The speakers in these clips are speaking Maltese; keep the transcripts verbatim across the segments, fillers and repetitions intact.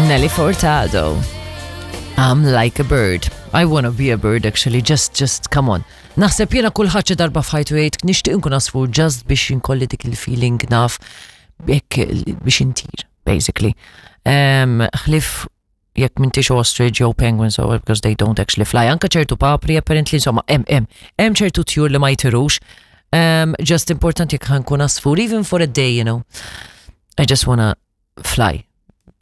Nelly Furtado. I'm like a bird. I wanna be a bird actually, just, just, come on. Naħseb jiena kulħadd xi darba f'ħajtu jgħid nixtieq nkun għasfur just biex inkolli dik il-feeling naf jekk biex intir, basically. Um, ħlif jekk m'intix ostrich jew penguins or because they don't actually fly. Anka ċertu papri apparently insomma hemm hemm hemm ċertu tjur li ma jtirux. Um, just important jekk ħa nkun għasfur even for a day, you know. I just wanna fly.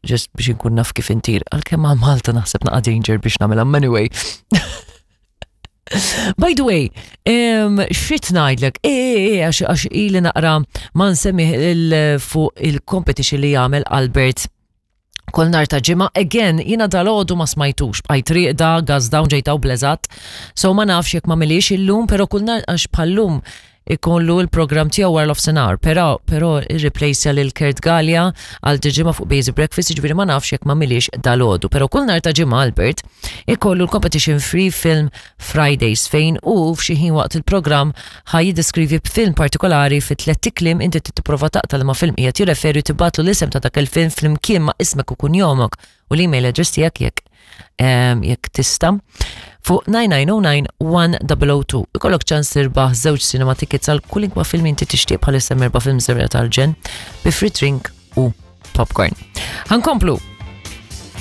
Just biex nkun naf kif intir. Għalkemm għal Malta naħseb naqa danger biex nagħmilha anyway. By the way, um, xit ngħidlek, e, e, e, għax għax ili naqra ma nsemmi il- fuq il-competition li jagħmel Albert kull nhar ta' Ġimgħa, again, jiena dalgħodu ma smajtux, bqajt rieqda, gas down ġejtaw blezat, so ma nafx jekk ma milix illum, pero kull nhar għax bħallum ikollu il-program tiegħu wara nofsinhar, però però irreplace lil Kurt Gallia għal ġimgħa fuq Basic Breakfast, jiġifieri ma nafx jekk ma milix dalgħodu, però kull nhar ta' Ġimgħa Albert ikollu l-competition Free Film Fridays fejn u f'xi ħin waqt il-programm ħa jiddeskrivi film partikolari fi tliet kliem inti tipprova taqta' ma film qiegħed jirreferi tibgħatlu l-isem ta' dak il-film flimkien ma' ismek u kunjomok u l-email address tiegħek jekk em, jekk tista' fuq nine nine zero nine one zero zero two. Ikollok ċans tirbaħ żewġ cinema tickets għal kwalunkwe film inti tixtieq bħalissa erba' film serja tal-ġen bi free drink u popcorn. Ħa nkomplu.